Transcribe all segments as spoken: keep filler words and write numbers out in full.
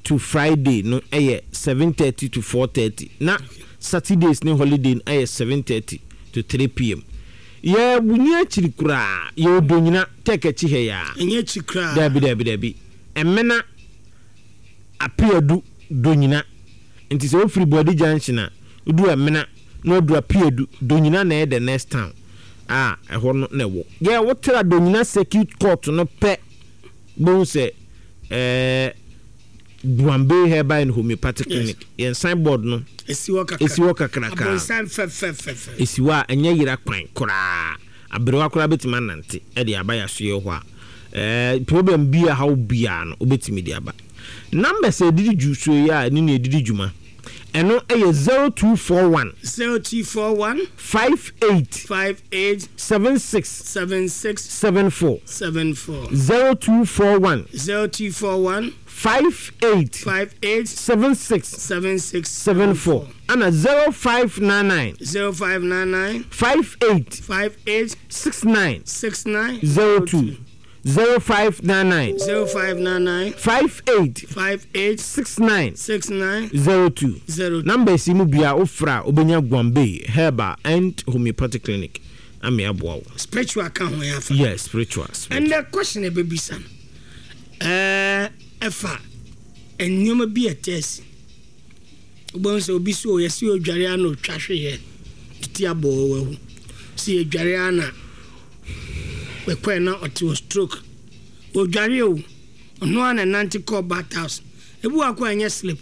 To Friday no ɛyɛ seven thirty to four thirty, na Saturdays ne holiday no ɛyɛ seven thirty to three p m. Yɛ wunyi akyiri koraa, yɛ Odonyina Tech akyi ha yaa. Ɛnyɛ akyi koraa. Dabi, dabi, dabi, Ɛmena Apeadu Donyina. Nti sɛ wofiri Buadi Junction a, wodu Ɛmena na wadu Apeadu Donyina na ɛyɛ the next town a ɛhɔ no na ɛwɔ. Yɛ wotra Donyina Circuit Court no pɛ, bohu sɛ ɛɛ Guambe Herbal and Homeopathic Clinic, yɛn signboard no esi hɔ kakra. Esi hɔ kakraka. Abonsan fɛfɛɛfɛ. Esi hɔ a ɛnyɛ yera kwan koraa. Aberewa koraa bɛtumi anante ɛde aba yɛasoɛ hɔ a, ɛɛ problem bi a haw biara no, wobɛtumi de aba. Numbers a ɛdidi dwu so yi a ɛne ne ɛdidi dwuma, ɛno ɛyɛ zero two four one, zero two four one, five eight, five eight, seven six, seven six, seven four. seven four. zero two four one, zero two four one, five eight, five eight, seven six, seven six, seven four, ana zero five nine nine, zero five nine nine, five eight, five eight, six nine, six nine, zero two. zero five nine nine, zero five nine nine, five eight, five eight, six nine, six nine, zero two. zero two. Numbers yi mu bia wofra a, wobɛnya Guambe Herbal and Homeopathic Clinic ame aboa wo. Spiritual ka ho yɛ afa? Yes, spiritual, spiritual. Ɛnɛ question ɛbɛbisa no ɛɛ ɛfa nneɛma bi a ɛtɛ asi. Wobɛhu sɛ obi so yɛsi odware a na otwa hweyɛ titi abɔ wawu, si edware a na ɛkɔɛ na ɔte wɔ stroke. Odware o, ɔno a na nante kɔɔ bath house. Ebi wɔ akɔ ɛnyɛ slip.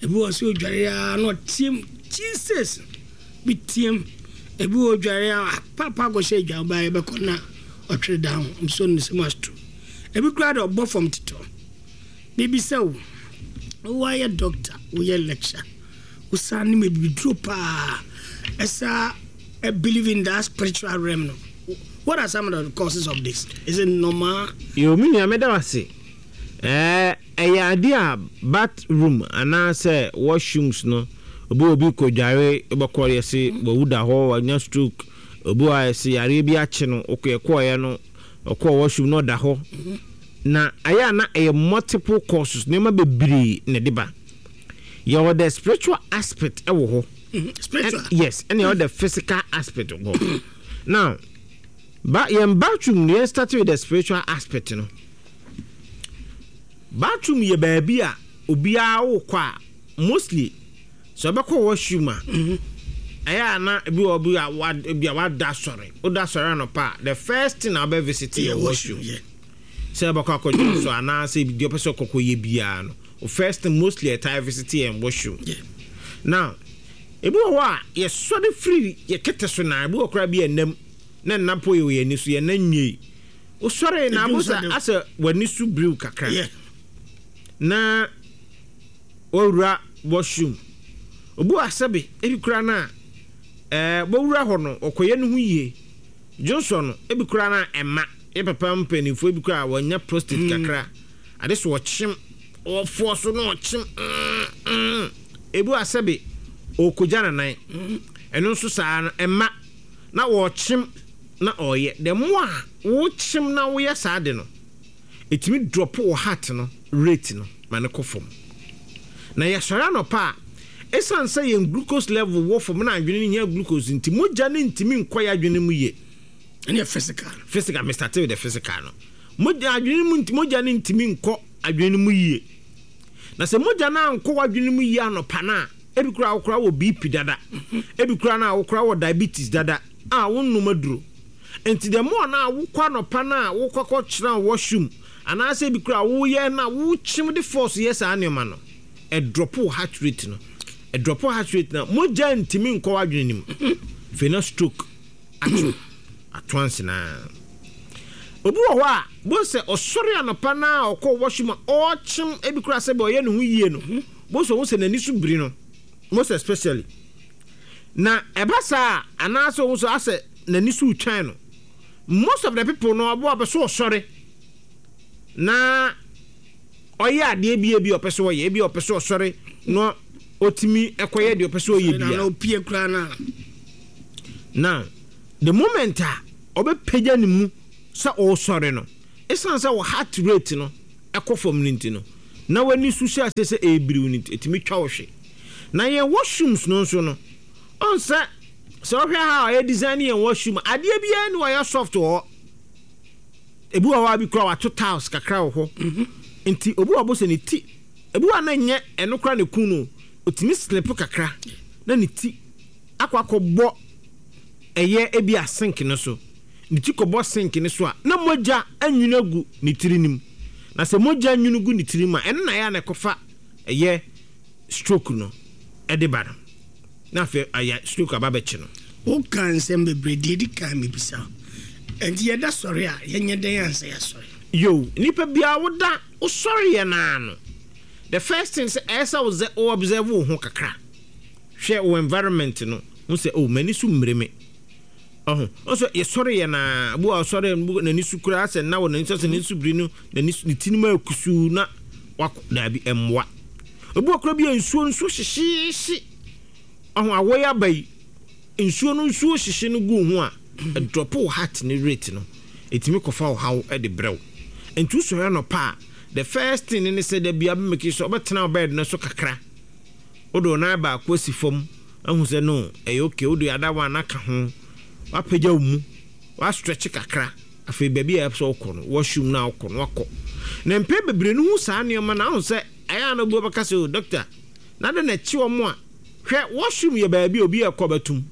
Ebi wɔ sɛ odware a na ɔteam "Jesus" bi team. Ebi wɔ odware a papa akɔhyɛ adwa ɔbaa yɛbɛkɔ na ɔtwere down nso ne sɛ ma stroke. Ebi koraa de ɔbɔ fam tetɔ. Biribi sɛ wo woayɛ doctor, woyɛ lecture, wosan ne mebibiduro paa, ɛsa believe in that spiritual realm no, what are some of the causes of this? Is it normal? Yo, me nua, meda wase. ɛɛ ɛyɛ ade a bathroom anaasɛ washrooms no, obi obi kɔ dware, wobɛkɔ, yɛse wawu da hɔ, wanya stroke. Obi wɔ a yɛse yareɛ bi akye no, wokɔ yɛkɔɔyɛ no, ɔkɔɔ washroom na ɔda hɔ. Na ayɛ a na ɛyɛ multiple causes, nneɛma bebree na ɛde ba. Yɛwɔ the spiritual aspect ɛwɔ hɔ. Spiritual? Ɛn- yes ɛna yɛwɔ the physical aspect wɔ hɔ. Now ba yɛn bathroom no, yɛn start with the spiritual aspect no. Bathroom yɛ baabi a obiara wokɔ a, mostly sɛ ɔbɛkɔ washroom a, ɛyɛ a na ebi wɔ bi a wa ebi a wada sɔre, woda sɔre anɔpa a, the first thing a wobɛ visit yɛ washroom. Yeah. Sɛ ɛbɛkɔ akɔdwa so anaasɛ deɛ ɔpɛ sɛ ɔkɔkɔ yɛ biara no, o first thing mostly ɛtaa visit yɛ washroom. Yeah. Now ebi wɔ hɔ a yɛsɔre firi yɛ kɛtɛ so na ebi wɔ koraa bi ɛnam na nna po yɛ wɔ yɛn ani so, yɛn nan nwie. Wosɔre na Ebi abo nso sɛ de- asɛ w'ani so biriw kakra Yeah. na wawura washroom. Obi wɔ asɛbe ebi koraa na ɛɛ wɔwura hɔ no, ɔkɔyɛ ne ho yie. Johnson no ebi koraa na ɛma yɛ papa mpanimfoɔ ebi koraa wɔnya prostate mm. kakra ade so, ɔkyem ɔfoɔ so na ɔkyem mm, mm. Ebi wɔ asɛbe ɔkɔgya nanan, ɛno nso saa no ɛma na wɔkyem na ɔyɛ. The more a wɔkyem na wɔyɛ saa de no, ɛtumi drop wɔ heart no rate no ma ne kɔ fam. Na yɛsɔre anɔpa a, ɛsiane sɛ yɛn glucose level wɔ fam na adwene no hia glucose nti, mogya no ntumi nkɔ yɛ adwene mu yie. Ɛne physical. Physical, me start with the physical no. Mogya adwene mu, mogya no ntumi nkɔ adwene no mu yie. Na sɛ mogya no ankɔ w'adwene mu yie anɔpa no a, ebi koraa wokora wɔ B P dada, ebi koraa no a wokora wɔ diabetes dada a wonnom aduro nti, the more na wokɔ anɔpa no a wokɔ kɔkyerɛ washroom anaasɛ ebi koraa woyɛ na wokyem de force yɛ saa nneɛma no, ɛdrop wo heart rate no. Ɛdrop wo heart rate no, mogya ntumi nkɔ w'adwene no mu. Afei na stroke ato ato ansenaa. Obi wɔ hɔ a bo sɛ ɔsɔre anɔpa na ɔkɔ washroom a ɔrekyem, ebi koraa sɛ bɛ ɔyɛ ne ho yie no, bo sɛ ɔho sɛ n'ani so biri no most especially. Na ɛba saa anaasɛ ɔho sɛ asɛ n'ani so retwan no, most of the people no, ɔbo a ɔpɛ so ɔsɔre na ɔyɛ adeɛ bi, ebi ɔpɛ so ɔyɛ, ebi ɔpɛ so ɔsɔre na ɔtumi ɛkɔyɛ deɛ ɔpɛ so ɔyɛ na bia. Opie koraa na Now the moment a ɔbɛpagya ne mu sɛ ɔresɔre no, ɛsiane sɛ wɔ heart rate no ɛkɔ fam no nti no, Na w'ani so hyɛ ase sɛ ɛrebiriw no nti, ɛtumi twa wo hwe. Na yɛn washrooms no nso no, ɔn sɛ sɛ wohwɛ ha a yɛ design yɛn washroom, adeɛ biara ni wɔyɛ soft wɔ hɔ. Ebi wɔ hɔ a bi koraa wato tiles kakra wɔ hɔ. Mhm. Nti obi wɔ bo sɛ ne ti, ebi wɔ a na nyɛ ɛno koraa ne kun no, otumi slip kakra na ne ti akɔ akɔbɔ ɛyɛ ebi a sink no so. Ne ti kɔbɔ sink no so a, na mogya anwunu agu ne tiri no mu. Na sɛ mogya nwunu gu ne tiri mu a, ɛno na ɛyɛ a na ɛkɔfa ɛyɛ stroke no ɛde ba no. Na afei ayɛ stroke aba bɛkye no. Woka nsɛm bebree deɛ ɛdi kan mebisa wo. Ɛnti yɛda sɔre a yɛnyɛ dɛn ansa yɛasɔre? Yo, nipa biara woda wosɔre yɛ naa no, the first thing sɛ ɛyɛ sɛ wo observe wo ho kakra. Hwɛ wo environment no, ho sɛ oh m'ani so mmire me. Ɔho, ɔso yɛsɔre yɛ naa, bu a ɔsɔre n'ani so koraa sɛ na wɔ n'ani so sɛ n'ani so biri no, n'ani so ne ti no mu ayɛ kusuu na wakɔ daabi ɛmmoa. Obi wɔ koraa bi a nsuo nsuo hyehyeehye. Ɔho awɔ yi aba yi, nsuo no nsuo hyehye no gu ho a, ɛdrop wo heart ne rate no. Ɛtumi kɔfa wo haw de brɛ wo. Nti wosɔre anɔpa a, the first thing ne sɛ da bia bɛmake sɛ wobɛtena wo bed no so kakra. Wode wo nan baako asi fam, ahu sɛ no, ɛyɛ okay, wode other one aka ho, wapagya wo mu, wastretch kakra. Afei baabi a ɛpɛ sɛ wokɔ no, washroom no a wokɔ no, wakɔ. Na mpɛn bebree no hu saa nneɛma no, ahu sɛ ɛyɛ a na obi bɛka sɛ, oh doctor, na de na ɛkye wɔn a, hwɛ washroom yɛ baabi a obi ɛkɔ bɛtum.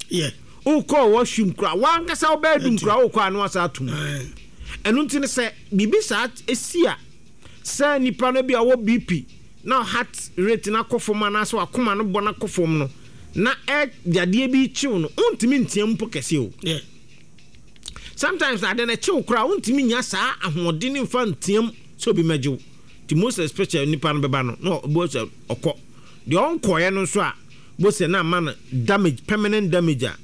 Yeah. Wokɔ washroom koraa, wankasa wo bedroom koraa wokɔ a na wasa atum. Ɛno nti no sɛ biribi saa esi a, sɛ nipa no bi a ɔwɔ B P na heart rate no akɔ fam anaasɛ wakoma no bɔ no akɔ fam no, na ɛ yadeɛ bi kyew no, wontumi ntea mpo kɛse o. Yeah. Sometimes na ade no kyew koraa wontumi nya saa ahoɔden ne mfa nteam sɛ obi mɛgye wo. Nti most especially nipa no bɛba no na ɔbɔ sɛ ɔkɔ. Deɛ ɔnkɔɔɛ no nso a, bo sɛ na ama no damage, permanent damage a,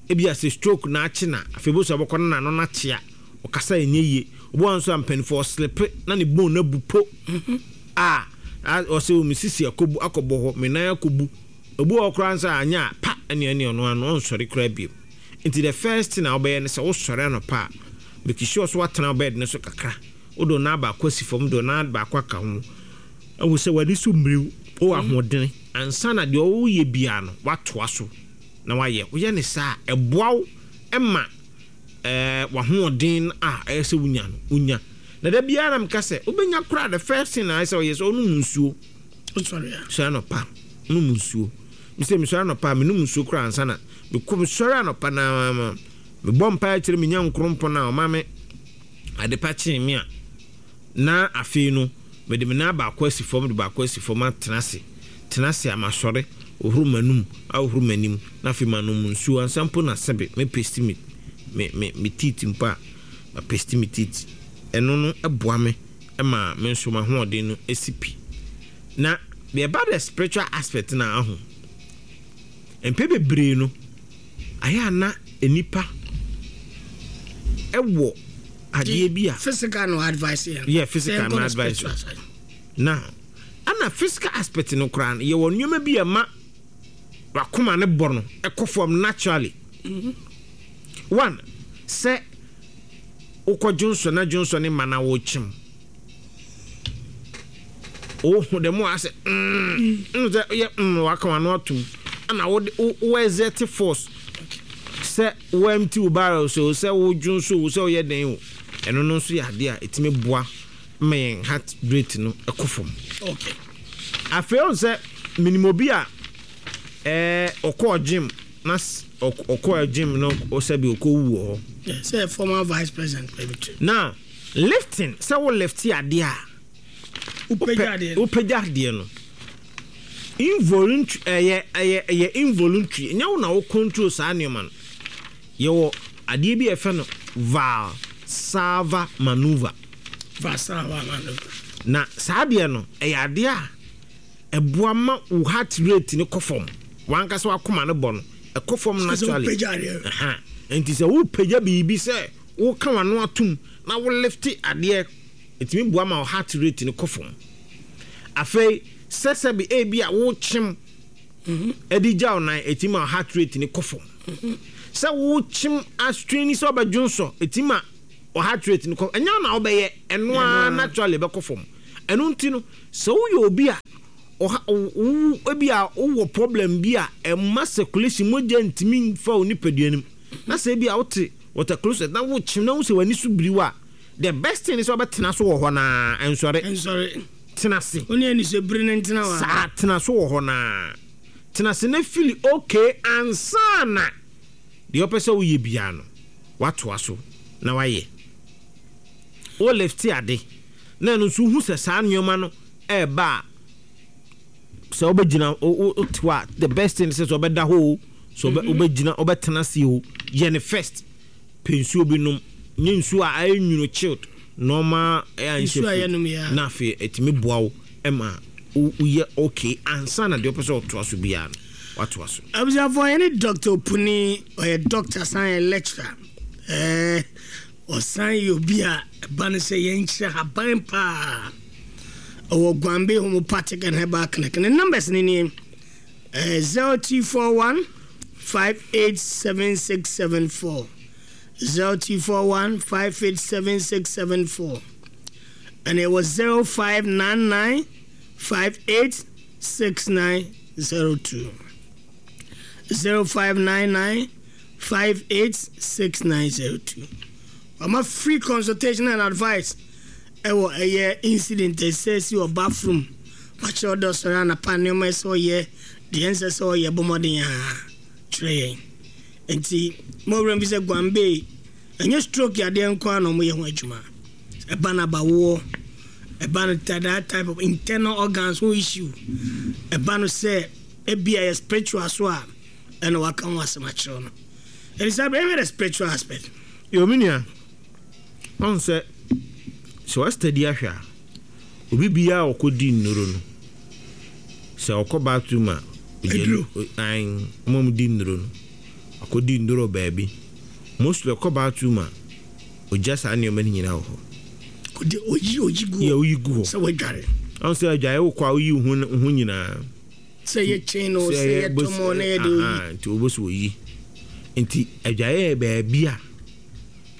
ebi a sɛ stroke na akye na afei bo sɛ ɔbɛkɔ no n'ano n'akyea, ɔkasa ɛnyɛ yie. Obi wɔ nso a mpanimfoɔ ɔslip na ne bone no abu po a ɔsɛ o me sisi akɔbu akɔbɔ hɔ, me nan akɔbu. Obi wɔ hɔ koraa nso a anya a pa ɛne ɛne ɔno ano ɔnsɔre koraa bio. Nti the first thing a wobɛyɛ ne sɛ wosɔre anɔpa a, make sure so woatena wo bed no so kakra. Wode wo nan baako asi fam, de wo nan baako aka ho. Ɛhu sɛ w'ani so mmiriw, wowɔ ahoɔden. Ansa na deɛ woyɛ biara no, woatoa so na woayɛ. Woyɛ ne saa a, ɛboa wo ma ɛɛ w'ahoɔden a ɛyɛ sɛ wonya no, wonya. Na da biara na meka sɛ, wobɛnya koraa the first thing a ɛyɛ sɛ woyɛ sɛ wonom nsuo. Wosɔre a. Sɔre anɔpa, nom nsuo. Mesɛ mesɔre anɔpa a, menom nsuo koraa ansa na mekɔ mesɔre anɔpa na mebɔ mpaeɛ kyerɛ me Nyankopɔn a ɔma me adepa kyee me a, na afei no mede me nan baako asi fam de baako asi fam atena ase. Tena ase a masɔre, ohoro m'anum, ahohoro m'anim, na afei manom nsuo ansa mpo na sɛbe me paste me me me me teeth mpo a, ma paste me teeth. Ɛno no ɛboa me ma me nso m'ahoɔden no esi pi. Na deɛ ɛba the spiritual aspect na aho, mpɛ bebree no, ayɛ a na nipa ɛwɔ adeɛ bi a Physical no advice yɛn. Yeah, physical Sɛ no yɛnkɔ the advice. spiritual side. Now, ana physical aspect no koraa no, yɛwɔ nneɛma bi a ɛma wakoma ne bɔ no ɛkɔ fam naturally. One, sɛ wokɔ dwonsɔ na dwonsɔ ne ma na wokyem, wohu dɛm a asɛ mm mm sɛ yɛ mm waka wano atom ana wode wo wo exert force sɛ wo empty wo barrel so, sɛ wo dwonsɔ o, sɛ woyɛ den o, ɛno no nso yɛ adeɛ a ɛtumi boa ma yɛn heart rate no ɛkɔ fam. Okay. Afei ɔn sɛ minim obi a ɛɛ ɔkɔɔ gym na s- ɔk- ɔkɔɔ gym no ɔsɛbi ɔkɔ wu wɔ hɔ. Yeah, sɛ former vice president baabi to. Now lifting, sɛ wo lift adeɛ a, Wopagya adeɛ no. wopagya adeɛ no involuntary, ɛyɛ ɛyɛ ɛyɛ involuntary, ɛnyɛ wo na wo control saa nneɛma no. Yɛwɔ adeɛ bi a yɛfrɛ no Valsalva maneuver. Valsalva maneuver. Na saa adeɛ no ɛyɛ adeɛ a ɛboa ma wo heart rate no kɔ fam, wankasa wakoma no bɔ no ɛkɔ fam Sɛ naturally. wopagya adeɛ no. Aha. Nti sɛ wopagya biribi sɛ woka w'ano atom na wo lift adeɛ, ɛtumi boa ma wo heart rate no kɔ fam. Afei sɛ sɛbi ebi a wokyem ɛde gya wo nan, ɛtumi ma wo heart rate no kɔ fam. Sɛ wokyem astrain sɛ wobɛdwo nsɔ, ɛtumi ma wo heart rate no kɔ, ɛnyɛ wo na wobɛyɛ ɛno ara, naturally ɛbɛkɔ fam. Ɛno nti no, sɛ woyɛ obi a ɔha wo, ebi a wowɔ problem bi a ɛma circulation, mogya ntumi nfa wo nipadua no mu, na sɛ ebi a wote water closet na wokyem na wo sɛ w'ani so biri wo a, the best thing is sɛ wobɛtena so wɔ hɔ naa, ɛnsɔre. Ɛnsɔre. Tena ase. Wo ne anisobiri no ntena hɔ. Saa, tena so wɔ hɔ naa, tena ase na feel okay ansa na deɛ ɔpɛ sɛ woyɛ biara no watoa so na wayɛ. Wo lift ade na ɛno nso wohu sɛ saa nneɛma no ɛɛba a, sɛ wobɛgyina, wote hɔ a, the best thing sɛ sɛ wobɛda hɔ o, sɛ wobɛgyina, wobɛtena ase o, yɛ ne first. Pɛ nsuo bi nom, nye nsuo a ayɛ nwunu, chilled, normal ɛyɛ nsuo a yɛnom yɛ. Na afei ɛtumi boa wo ma woyɛ okay ansa na deɛ wopɛ sɛ ɔtoa so biara no watoa so. Abusuafoɔ, yɛne Doctor Opuni, ɔyɛ doctor, san yɛ lecturer, ɛɛ ɔsan yɛ obi a ɛba no sɛ yɛnkyerɛ haban paa. Ɔwɔ Guambe Homeopathic and Herbal Clinic. Ne numbers ne nie: ɛɛ zero two four one five eight seven six seven four, zero two four one five eight seven six seven four, ɛna ɛwɔ zero five nine nine five eight six nine zero two, zero five nine nine five eight six nine zero two. Ɔma free consultation and advice. Ɛwɔ ɛyɛ incident ɛsɛ si wɔ bathroom, wakyerɛ ɔdɔ sɔrɔ anapa, nneɛma ɛsɛ ɔyɛ deɛ ɛnsɛ sɛ ɔyɛ, bɔ mmɔden a kyerɛ yɛn. Nti mo wura bi sɛ Guambe ɛnyɛ stroke yadeɛ nko ara na ɔmo yɛ ho adwuma. Ɛba no abawoɔ, ɛba no that type of internal organs ho issue, ɛba no sɛ ebi a yɛ spiritual so a, ɛna waka ho asɛm akyerɛw no. Ɛne sɛ ɛbɛyɛ the spiritual aspect. Yɛ omi nua, ɔn sɛ sɛ wasitadi ahwɛ a, obi biara a ɔkɔdi nnuro no, sɛ ɔkɔ bathroom a, Aduro. Ayi, ɔmo a di nnuro no, ɔkɔdi nnuro baabi, mostly ɔkɔ bathroom a, ogya saa nneɛma no nyinaa wɔ hɔ. Ɔde oyi oyi gu. Yɛ oyi gu hɔ. Sɛ wadware. Ɔn sɛ adwaeɛ wokɔ a, woyi wo ho ho nyinaa. Sɛ yɛ chain o, sɛ yɛ tɔmɔ na yɛ de oyi. Nti wobɛsɛ oyi. Nti adwaeɛ yɛ baabi a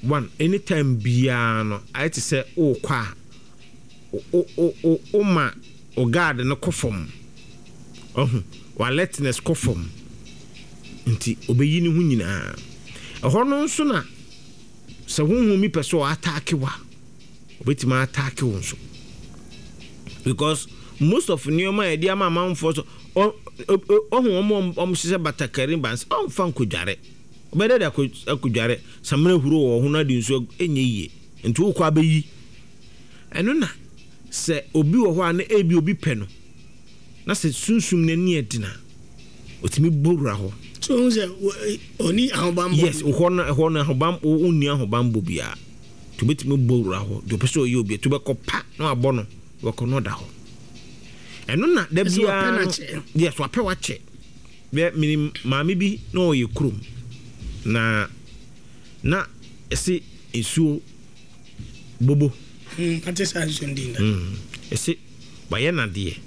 one anytime biara no ayɛ te sɛ wokɔ a, wo wo wo woma wo guard no kɔ fam, ɔho wa alertness kɔ fam, nti obɛyi ne ho nyinaa. Ɛhɔ no nso na sɛ honhom mi pɛ sɛ ɔattack wa, obɛtumi attack wo nso, because most of nneɛma a yɛde ama amanfoɔ so, ɔho wɔn a wɔhyehyɛ batakari bansi, ɔmfa nkɔdware, ɔbɛdɛ de akɔdware samina huro wɔ ho na de nsuo ɛnyɛ yie. Nti wokɔ abɛyi ɛno na sɛ obi wɔ hɔ a, na ebi obi pɛ no na sɛ sunsum n'ani ɛdina, otumi bɔ wura hɔ. So ohun sɛ ɔni ahobanbɔ. Yes, hɔ no, ɛhɔ no ahoban, wonni ahobanbɔ biara, nti obetumi bɔ wura hɔ deɛ ɔpɛ sɛ ɔyɛ obi to bɛkɔ pa na wabɔ no, bɛkɔ no ɔda hɔ. Ɛno na da biara no, yes, wapɛ wakyɛ. Bɛ minim maame bi na ɔyɛ kurom na na ɛsɛ nsuo bobo. Ate saa nsuo no din da. Ɛsɛ wayɛ nadeɛ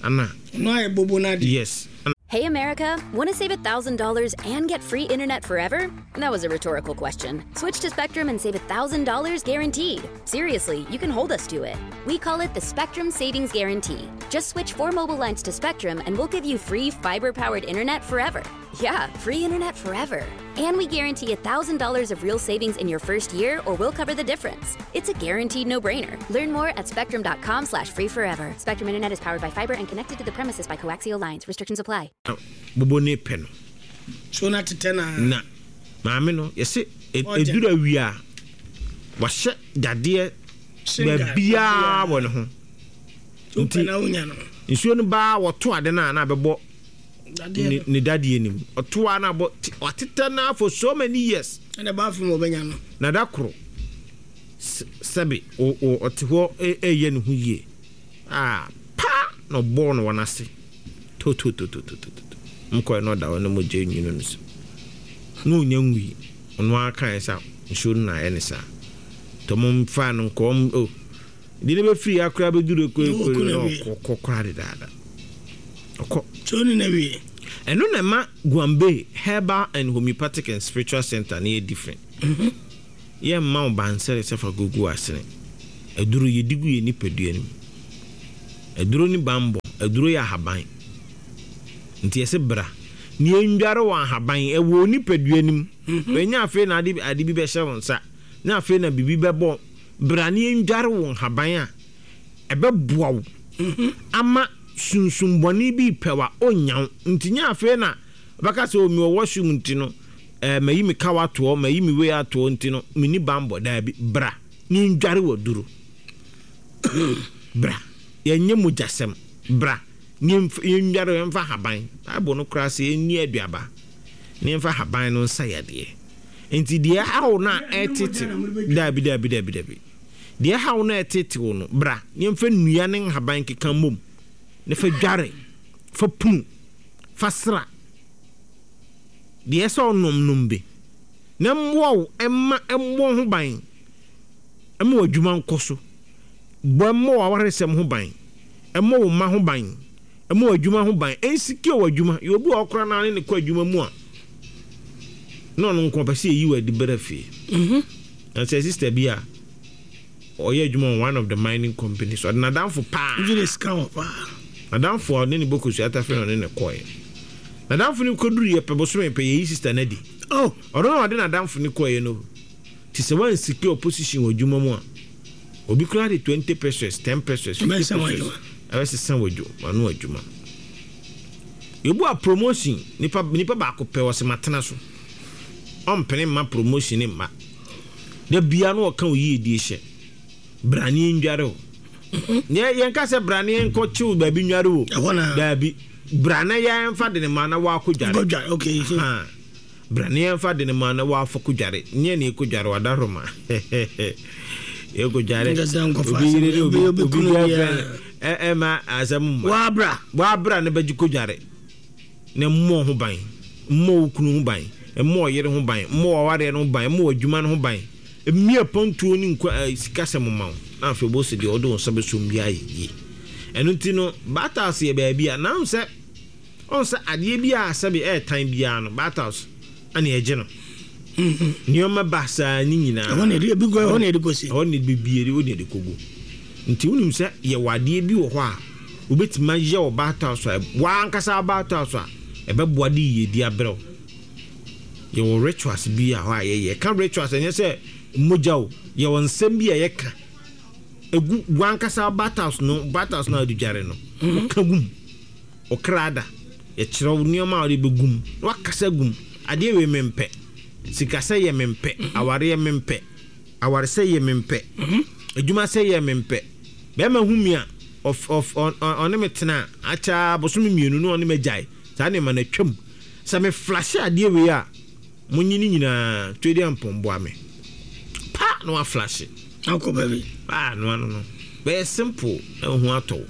ana. Ɔno ayɛ bobo n'adeɛ. Yes. Hey America, want to save one thousand dollars and get free internet forever? That was a rhetorical question. Switch to Spectrum and save one thousand dollars guaranteed. Seriously, you can hold us to it. We call it the Spectrum Savings Guarantee. Just switch four mobile lines to Spectrum and we'll give you free fiber powered internet forever. Yeah, free internet forever. And we guarantee one thousand dollars of real savings in your first year, or we'll cover the difference. It's a guaranteed no-brainer. Learn more at spectrum dot com slash free forever. Spectrum Internet is powered by fiber and connected to the premises by coaxial lines. Restrictions apply. Bobo ne pɛ no. So na tetɛ na. Na maame no yɛsɛ eduru awia a, wahyɛ dadeɛ baabiara wɔ ne ho. Nti nsuo no baa, wɔto ade no a, na abɛbɔ ne dadeɛ nim. Ɔto a na abɔ, watetɛ no for so many years. Ɛna baafo mu ɔbɛnya no. Na da koro, sɛbi, ɔte hɔ ɛyɛ ne ho yie a paa na ɔbɔɔ no wɔ n'ase totototototo nkɔɛ na ɔda hɔ na mogya nwunu no so na ɔnya nwui. Ɔno ara kae sɛ nsuo no na ayɛ ne saa, nti ɔmo mfa no nkɔ ɔmo o de ne bɛfiri akora bɛduru ekore na ɔkɔ koraa dedaada ɔkɔ. So ne na wie. Ɛno na ɛma Guambe Herbal and Homeopathic and Spiritual Center ne yɛ different. Yɛmma wo bansɛre sɛ fa gugu asene aduro, yɛdi gu yɛ nipadua no mu. Aduro ne bambɔ, aduro yɛ ahaban. Nti yɛsɛ bra ne yɛndware wɔ ahaban ɛwɔ nipadua nim. Ɛnyɛ afei na ade ade bi bɛhyɛ wo nsa, na afei na biribi bɛbɔ. Bra ne yɛndware wɔ nhaban a ɛbɛboa wo ama sunsumbɔne bi pɛ wa ɔnya wo. Nti nyɛ afei na bɛka sɛ omi wɔ washroom nti no, ɛɛ mayi mi kawa atoɔ, mayi mi wei atoɔ nti no mini bambɔ. Daabi, bra ne yɛndware wɔ duro. Bra, yɛnyɛ mogyasɛm. Bra ne yɛndware, yɛmfa haban. Bible no koraa sɛ yɛnni aduaba ne yɛmfa haban no nsa yadeɛ. Nti deɛ ɛhaw no a ɛtete, daabi, daabi, daabi, daabi, deɛ ɛhaw no a ɛtete wo no, bra ne yɛmfa nnua ne nhaban keka mmom ne fa dware, fa punu, fa sra. Deɛ ɛsɛ ɔnom nom bi na mmoa wo, ɛma ɛmmɔ ho ban, ɛma w'adwuma nkɔ so. Bɔ ɛmmɔ w'awaresɛm ho ban, ɛmmɔ wo mma ho ban, ɛmmɔ w'adwuma ho ban, ɛnsecure w'adwuma. Yɛ obi a ɔkora naa ne ne kɔ adwuma mu a, na ɔno nko ɔpɛ sɛ yɛyi wɔ adi bɛrɛ fie. Na sɛ sister bi a ɔyɛ adwuma wɔ one of the mining companies, ɔde n'adamfo paa. Gye de sika wɔ paa. N'adamfo a ɔne ne bɔ kosua atafere na ɔne ne kɔɛ. N'adamfo no kɔduru yɛ pɛ bosome pɛ, yɛyi sister no adi. Oh. Ɔno na ɔde n'adamfo no kɔɛ no. Ti sɛ wansecure position wɔ adwuma mu a, obi koraa de twenty pesewas, ten pesewas, fifty Ɛbɛsesa wɔ pesewas adwuma. Ɛbɛsesa wɔ adwuma, ano adwuma. Yɛbu a promotion, nipa nipa baako pɛ wɔ sɛ matena so. Ɔmpene mma promotion ne mma. Da bia no ɔka wo yiedie hyɛ. Bra ne yɛndware o. Yɛ yɛnka sɛ bra ne yɛnkɔ kyew baabi nware o. Ɛhɔ na. Daabi. Bra na yɛmfa de ne ma na wakɔ dware. Go dware, okay. So Ha. Bra ne yɛmfa de ne ma na wafa kɔ dware. Nyɛ ne yɛkɔ dware wadaroma. Yɛkɔ dware. Nkasa nkɔfa Obi yere ne asɛm. obi Obi- obi obi kunu girlfriend biara. ɛ ɛma asɛm mma. Wabra. Wabra ne bɛgye kɔ dware. Na mmɔ ho ban. Mmɔ wo kunu ho ban. Mmɔ ɔyere ho ban. Mmɔ w'awareɛ no ho ban. Mmɔ w'adwuma no ho ban. Mmea pɔntuo ne nkwa ɛ sikasɛm ma wo. Na afei bɔ sɛ deɛ ɔde wo nsa bɛsom bi ayɛ yie. Ɛno nti no, battles yɛ baabi a na sɛ ɔn sɛ adeɛ bi a sɛbi ɛɛtan biara no, battles ɛna ɛgye no. Nneɛma ba saa ne nyinaa. Ɛhɔ na yɛde ebi gu, ɛhɔ na yɛde kɔsi. Ɛhɔ na bibie de, wode de kɔgu. Nti wonim sɛ yɛwɔ adeɛ bi wɔ hɔ a wobɛtumi ayɛ wɔ battles a wankasa battles a ɛbɛboa de yiedi abrɛ wo. Yɛwɔ rituals bi a hɔ a yɛyɛ. Ka rituals, ɛnyɛ sɛ mogya o. Yɛwɔ nsɛm bi a yɛka egu wankasa battles no, battles no a wɔde dware no, woka gum ɔkra da, yɛkyerɛ wo nneɛma a wɔde bɛgu mu na wakasa gum. Adeɛ wei mempɛ, sikasɛ yɛ mempɛ, awareɛ mempɛ, awaresɛ yɛ mempɛ, adwuma sɛ yɛ mempɛ, bɛrima hu mi a ɔf ɔf ɔn ɔne me tena akyɛ bosome mmienu na ɔne me gyae. Saa nneɛma no atwam. Sɛ me flashe adeɛ wei a, monyi ne nyinaa twɛdi ampɔnboa me pa na waflashe. Akɔ baabi. Ah, no ano no bɛyɛ simple na ho atɔ wo.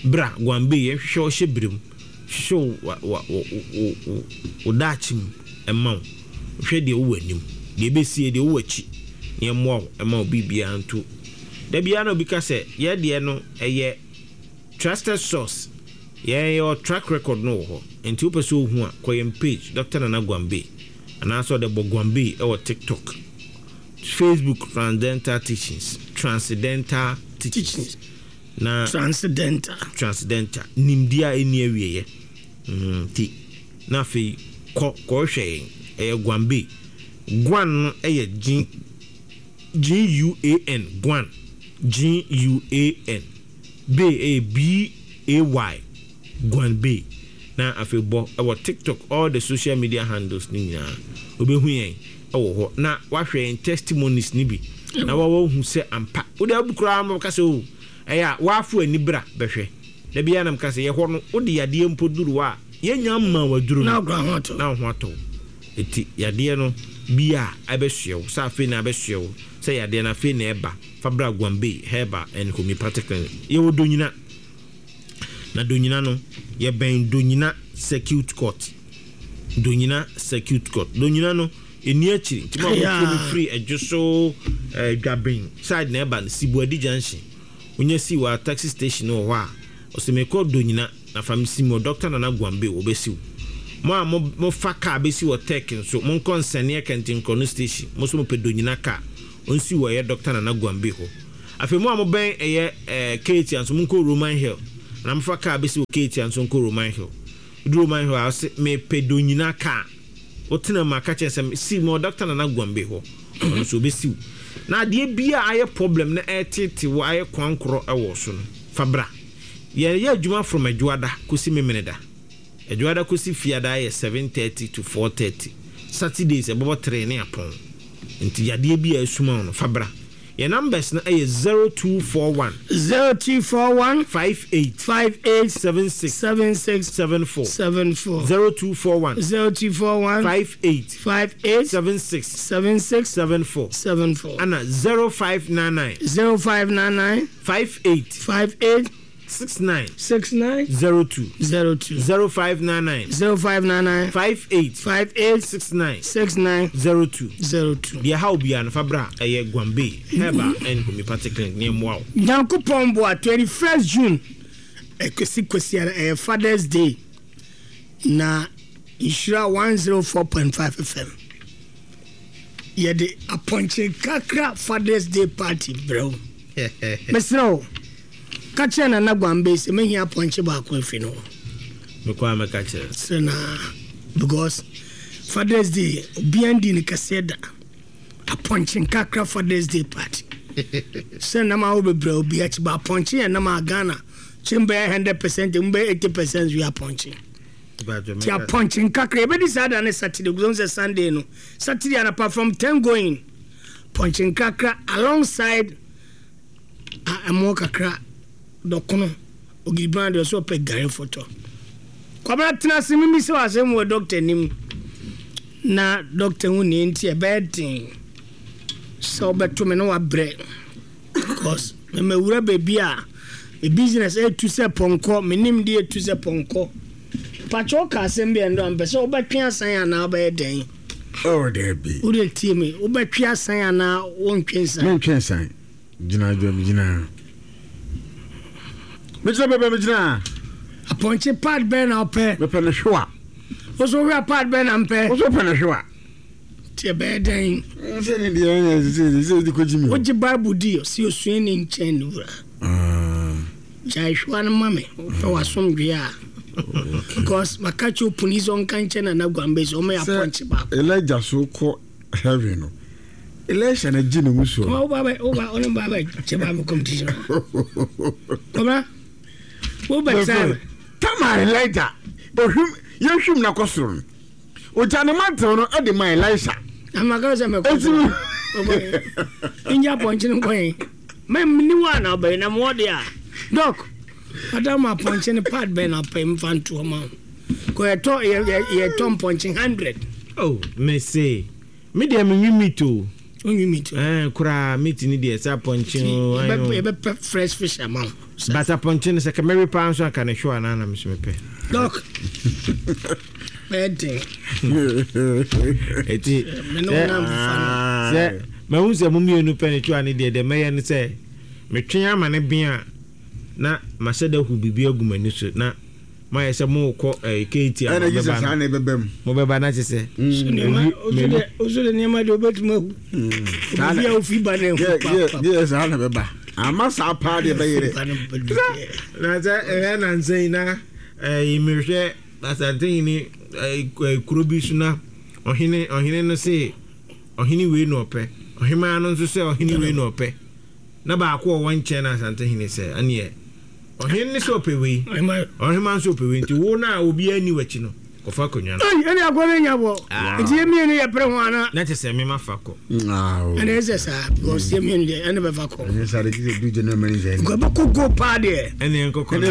Bra Guambe, yɛnhwehwɛ wo hyɛ berɛ mu, hwehwɛ wo wa wo wo wo wo daakye mu ɛma wo. Hwɛ deɛ wowɔ anim, deɛ ɛbɛsie, deɛ wowɔ akyi, na yɛmmoa wo ɛma wo biribiara nto. Da biara na obi ka sɛ yɛ deɛ no ɛyɛ trusted source. Yɛn yɛwɔ track record no wɔ hɔ. Nti wopɛ sɛ ohu a, kɔ yɛn page, Doctor Nana Guambe, anaasɛ ɔde bɔ Guambe ɛwɔ TikTok, Facebook, Transcendental Teachings, Transcendental Teachings. Na Transcendental. Transcendental nimdeɛ a ɛnni awieeɛ. Nti na afei kɔ kɔhwɛ yɛn. Ɛyɛ Guambe. Guan no ɛyɛ G G U A N, Guan, G U A N, Bay ɛyɛ B A Y, Guan Bay. Na afei bɔ ɛwɔ TikTok, all the social media handles ne nyinaa wobɛhu yɛn ɛwɔ hɔ na wahwɛ yɛn testimonies ne bi na wawahu sɛ ampa wode abu koraa ma bɛka sɛ o ɛyɛ a waafo ani bra bɛhwɛ. Da biara nam ka sɛ yɛhɔ no, wode yadeɛ mpo duru hɔ a, yɛnya mma waduru Na no akora ho atɔ. Na wo ho atɔ wo. Ɛti yadeɛ no bi a ɛbɛsoɛ wo sɛ afei na abɛsoɛ wo sɛ yadeɛ no afei na ɛba, fa bra Guambe Herbal and Homeopathic Clinic. Yɛwɔ Donyina, na Donyina no yɛbɛn Donyina Circuit Court. Donyina Circuit Court, Donyina no ɛni akyiri. Nti mo a motie me firi Ɛdwo so, eh, Dwaben side na ɛba no, Sibuadi Junction, wonya si wɔ taxi station wɔ hɔ a, ɔsɛ mekɔ Donyina na fa me si mu Doctor Nana Guambe, wɔbɛsiw mo a mofa kaa bɛsi wɔ Tech nso, monkɔ nsɛneɛ Kɛntenkorɔ no station. Mo nso mopɛ Donyina kaa ɔnsi wɔ ɛyɛ Doctor Nana Guambe hɔ. Afei mo a mobɛn ɛyɛ ɛɛ Kejetia nso, monkɔ Roman Hill. Na mfa kaa bɛsi wɔ Kejetia nso nkɔ Roman Hill. Wodu Roman Hill a, wose mepɛ Donyina kaa. Wotena mu a, ka kyerɛ sɛ si mewɔ Doctor Nana Guambe hɔ. Ɔno nso ɔbɛsi wo. Na adeɛ biara a ayɛ problem na ɛreteete wo, ayɛ kwankorɔ wɔ wo so no, fa bra. Yɛyɛ adwuma from Adwoada kɔsi Memeneda. Adwoada kɔsi Fiada yɛ seven thirty to four thirty. Saturdays ɛbɛbɔ three ne apɔn. Nti yadeɛ bi a asuma wo no, fa bra. Yɛn numbers no yɛ zero two four one. Zero two four one. Five eight. Five eight. Seven six. Seven six. Seven four. Seven four. Zero two four one. Zero two four one. Five eight. Five eight. Seven six. Seven six. Seven four. Seven four. Ana zero five nine nine. Zero five nine nine. Five eight. Five eight. Six nine. Six nine. Zero two. Zero two. Zero five nine nine. Zero five nine nine. Five eight. Five eight. Six nine. Six nine. Zero two. Zero two. Deɛ ha obiara no fa bra ɛyɛ Guambe Herbal and Homeopathic Clinic ne mmoa wo. Nyankopɔn boa twenty first June ɛkɔsi Kwasiada ɛyɛ Father's Day na Nhyira one zero four point five F M yɛde apɔnkye kakra Father's Day party brɛ wo. Mesrɛ wo, ka kyerɛ Nana Guambe sɛ mehia apɔnkye baako afi no hɔ. Mekɔ a mɛka kyerɛ. Srɛ na because Father's Day obiara ndi ne kɛseɛ da. Apɔnkye kakra Father's Day party. Sɛ nam a wo bebrɛ obi akyi ba apɔnkye yɛ nam a Ghana kyem bɛyɛ hundred percent mu bɛyɛ eighty percent wi apɔnkye. Ti apɔnkye kakra ebedi saa da ne Saturday guzo sɛ Sunday no. Saturday anapa from ten going. Apɔnkye kakra alongside a ɛmo kakra dɔkono ogiriban de so pɛ gare photo. Kwabra tena se mimi se wasem wo doctor nim. Na doctor hu ne nti e be den. So beto me no wabrɛ. Because me mewura baby a me business e tu se ponko, me nim de e tu se ponko. Pacho ka asem bi endo am pese obetwe asan ana obeye den. Oh there be. Wo de tie me, obetwe asan ana wo ntwe nsan. Me ntwe nsan. Gina dwam gina. Me gina bebe me gina. Aponche pad ben na ope. Me pe ne hwa. Wo so hwa pad ben na mpe. Wo so pe ne hwa. Tie be den. Nse ne de en se se di koji mi. Wo ji Bible di o si osuen ni nchen ni wura. Ah. Jai hwa no ma me. Wo pe wasomdwe a. Because makachi opuni so nka nche na na Guambe so me aponche ba. Elijah so ko heaven no. Elisha na ji ne muso. Ko ba ba o ba onu ba ba che ba competition. Ko ba wo ba time. Tama Elijah. Ohim yehwim na kosoro no. Oja ne mantel no e de ma Elisha. Amaka se me ko. Inja ponche no ko. Me ni wa na ba na mo de a. Doc. Madam aponche ne pad ben na pay mfanto ma. Ko e to ye to ponche hundred. Oh, me say. Me dey me nwi meat o. Onwi meat. Eh, kura meat ni dey sa ponche o. E be fresh fish amount. But aponche ne se ka Mary pa nso aka ne hwa na na me so me pe. Doc. Bad thing. Eti me no na mfa no. Se me hu se mo mienu pe ne twa ne dey de me ye ne se me twen ama ne bia na maseda hu bibi agumani so na ma yɛ sɛ mo kɔ eh K T a mo bɛba mo bɛba na kyesɛ ozo de nneɛma de obetuma hu obi a ofi ba na hu pa ye ye saa na bɛba ama saa pa de bɛyere na sɛ eh na nsɛn na eh mehwɛ asante ni kuro bi so na ɔhene ɔhene no se ɔhene wei na ɔpɛ ɔhema no nso sɛ ɔhene wei na ɔpɛ na baako ɔwɔ nkyɛn na asante hene sɛ ɛneɛ ɔhene ne sɛ ɔpɛ wei ɔhema nso ɔpɛ wei nti wo na obi ani w'akyi no kɔfa akonnwa no ei ɛne akɔ ne nya bɔ nti yɛmmienu yɛ pere ho ana na kyɛ sɛ mema fa kɔ ɛne ɛsɛ saa because yɛmmienu deɛ ɛne bɛfa kɔ ɛnyɛ saa de gye du gyina mani sɛ nkɔbɛkɔ go paa deɛ ɛne ɛnkɔkɔ na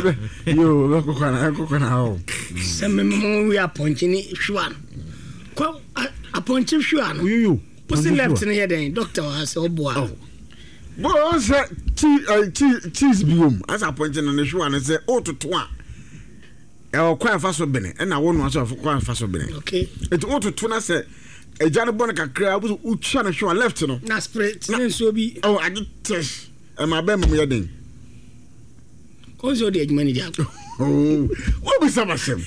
yo bɛkɔkɔ na ɛnkɔkɔ na o sɛ mememo wi apɔnkye ne hwewa no kɔ apɔnkye hwewa no yoyo wosi left no yɛ dɛn doctor wɔ ha sɛ ɔboa Bo sɛ cheese cheese biom asa apɔnkye no ne hwewa no sɛ wototo a ɛwɔ kwan fa so bene ɛna wo no aso kwan fa so bene. Okay. Enti wototo na sɛ agya no bɔ no kakra wo wotwa no hwewa left no na spread ne nsuo bi oh ade test ɛma bɛn mu yɛ den konso de adwuma ni di akɔ. Oh wo bi sa basem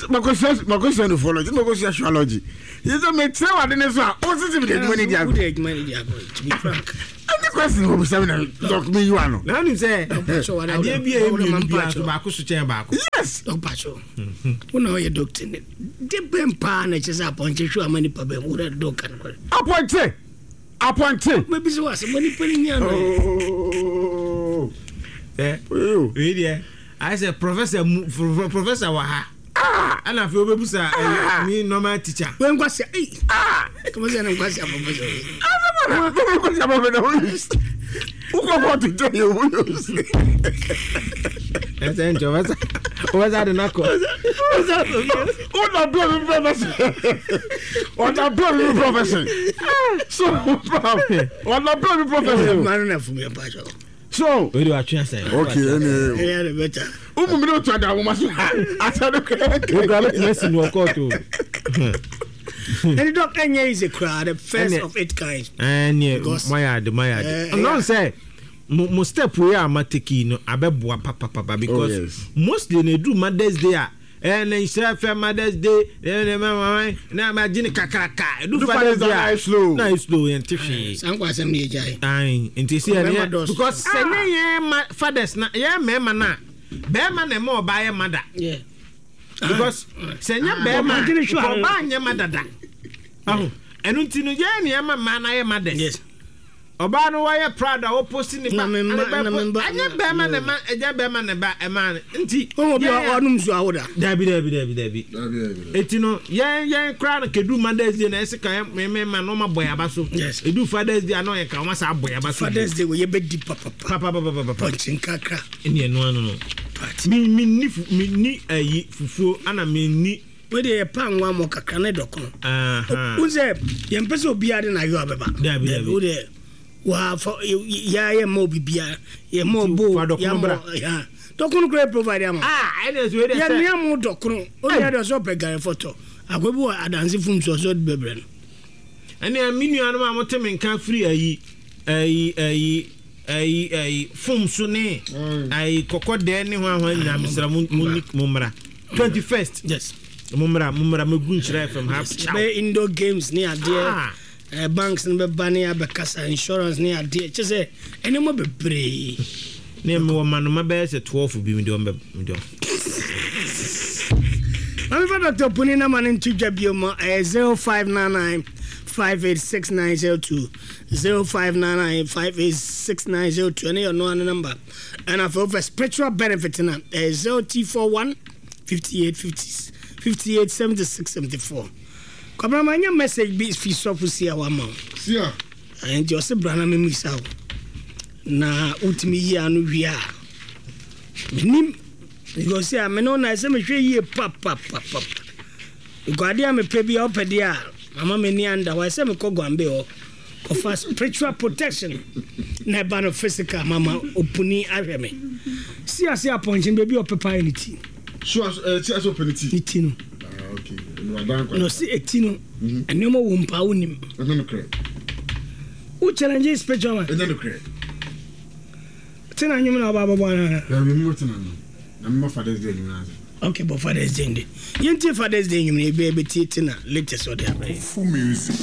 makosua makosua no follow makosua astrology yi sɛ me kyerɛ wade ne so a wo sisi me de adwuma ni di akɔ wo de adwuma ni di akɔ to be frank. Ɛne question wɔ bisa mi na doc mi yi wa no. Na wonim sɛ adeɛ bi a ɛyɛ mmienu biara so baako so kyɛn baako. Yes. Ɔpakyɛw, wo na ɔyɛ doctor ne de bɛn paa na ɛkyɛ sɛ apɔnkye hwɛ ama nipa bɛn wo dɛ dɔk kan kɔrɛ. Apɔnkye apɔnkye. Mɛbi sɛ wasɛ mo nipa ni nya no. Ɛ wei deɛ ayɛ sɛ professor mu professor wɔ ha. Ɛna afei wobɛbusa ɛyi mi normal teacher. Wei nkwasi ayi. Kɔmɔ sɛ ne nkwasi professor wei. Nkwasi professor wei. Wokɔ kɔɔto jɛ yɛ wo yɛ osi. Ɛsɛ nkyɛn ɔbɛsa ɔbɛsa de n'akɔ. Ɔna bɛɛ mi professor. Ɔna bɛɛ mi professor. So ɔna bɛɛ mi professor. Mmaa no na fún mi ɛ pa kyɛw. So. O de wa tún asɛn. Okay, ɛnɛ. Ɛyɛ de bɛ ta. Umu mi n'o tún ada awoma so. Asa do kɛ. O kura bɛ tɛmɛ sinu wɔ kɔɔto. Ɛni dɔk ɛnyɛ easy kura, the first of its kind. Ɛnɛ mo ayɛ ade, mo ayɛ ade. Ɔnɔ sɛ mo mo step wey a ma take yi no abɛboa papapapa because Oh, yes. mostly na edu Mother's Day a ɛɛ na nhyira fɛ Mother's Day ɛɛ na ma na ma gye ne kakraka, edu Edu Father's Day Father's Day na a ayɛ slow. Na ayɛ slow, yɛn ti hwee. Saa nkɔ asɛm ne yɛ gya yi. Ayi, nti si yɛn Ɔbɛma yɛ dɔɔso. because sɛ ne yɛn ma fathers na yɛn mmarima na bɛrima na ɛma ɔbaa yɛ mother Yeah. because sɛ nyɛ bɛrima Ɔbaa gyene hwɛ a- ɔbaa nyɛ ma dada ɔho. Ɛno nti no yɛn ni ɛma mmaa na yɛ mothers. Yes. Ɔbaa no wɔyɛ proud a wɔpost ne ba Na me mma- ɛne bɛ na me mba- ɛnyɛ bɛrima na ɛma, ɛnyɛ bɛrima na ɛba ɛma no nti. Wɔn obi a yɛn- ɔnum nsuo awoda. Dabi, dabi, dabi, dabi. Eti no yɛn yɛn koraa no kedu Mother's Day na ɛsɛ ka yɛn mɛmɛ na ɔma bɔ yaba so. Yes. Edu Father's Day a na ɔyɛ ka ɔma sa abɔ yaba so. Father's Day wɔ yɛ bɛ di papapa. Papapapapa. Pɔnkye nkakra. Ɛni ɛnu ano no Party. mi mi ni fu mi ni ɛyi fufuo ana mi ni. Wei de yɛ pa nwa mɔ kakra ne dɔkono. Ahan. N sɛ yɛn pɛ sɛ obiara de n'ayɔ abɛba. Dabi, dabi. O de wa fa ya yɛ ma obi biara yɛ ma obo. Fa dɔkono yɛ ma bra. ya dɔkono kura yɛ provide ama. Aa, ɛna ɛsɛ wei de yɛ sɛ nua mu dɔkono o yɛ de ɔsɛ ɔpɛ gari fɔtɔ akɔ bi wɔ adansi fum so ɔsɛ ɔde bɛbrɛ no. Ɛnna mi nuanom a mote me nka firi ayi ayi ayi ayi ayi fom so ne ayi kɔkɔ dɛɛ ne ho ahoa nyinaa, mesrɛ mo, mo ni mo mmra twenty first. Yes. Mo mmra, mo mmra mɛgu Nhyira F M ha. Ciao. Bɛyɛ indoor games ne adeɛ. Ah. eh, banks no bɛba ne abɛkasa insurance ne adeɛ kyɛ sɛ ɛnneɛma bebree. Ne mewɔ manoma bɛyɛ sɛ twelve bi, mede ɔmbɛ mede ɔm. Mamefa Doctor Puni na ma no nto dwa bio ma ɛyɛ zero five nine nine five eight six nine zero two, zero five nine nine five eight six nine zero two. Ɛne yɛ ɔno ano number. Ɛna afei wofɛ spiritual benefit no a ɛyɛ zero two four one fifty-eight fifty fifty-eight seventy-six seventy-four. Kwabena, ma nyɛ message bi fi sɔfo si a wama wo. Sia. Ɛɛ, nti ɔse bra na memisa wo na wotumi yi ano wie a menim because a mene wo na ɛsɛ mehwɛ yie papapapap because adeɛ a mepɛ bi a wopɛ deɛ a mama m'ani anda hɔ, ɛsɛ mekɔ Guambe hɔ kɔfa spiritual protection na ɛba no physical mama opuni ahwɛ me si ase apɔnkye baabi a ɔpepa yɛ ne ti. So aso ɛ ti aso pɛ ne ti. Ne ti no. Ah, okay. Wadan Na kwan. ɔsi eti no nneɛma wɔ mpa wonim. Ɛnyɛ no korɛ. Wo challenge spiritual man. Ɛnyɛ no korɛ. Tena nwom na ɔba abɔbɔ anana. Dabi, mi mo tena no. Na mi mo Father's Day nyinaa ase. Okay, but Father's Day nde yɛntie Father's Day nwom no ebi ɛbɛtie tena latest ɔde abrɛ. Full music.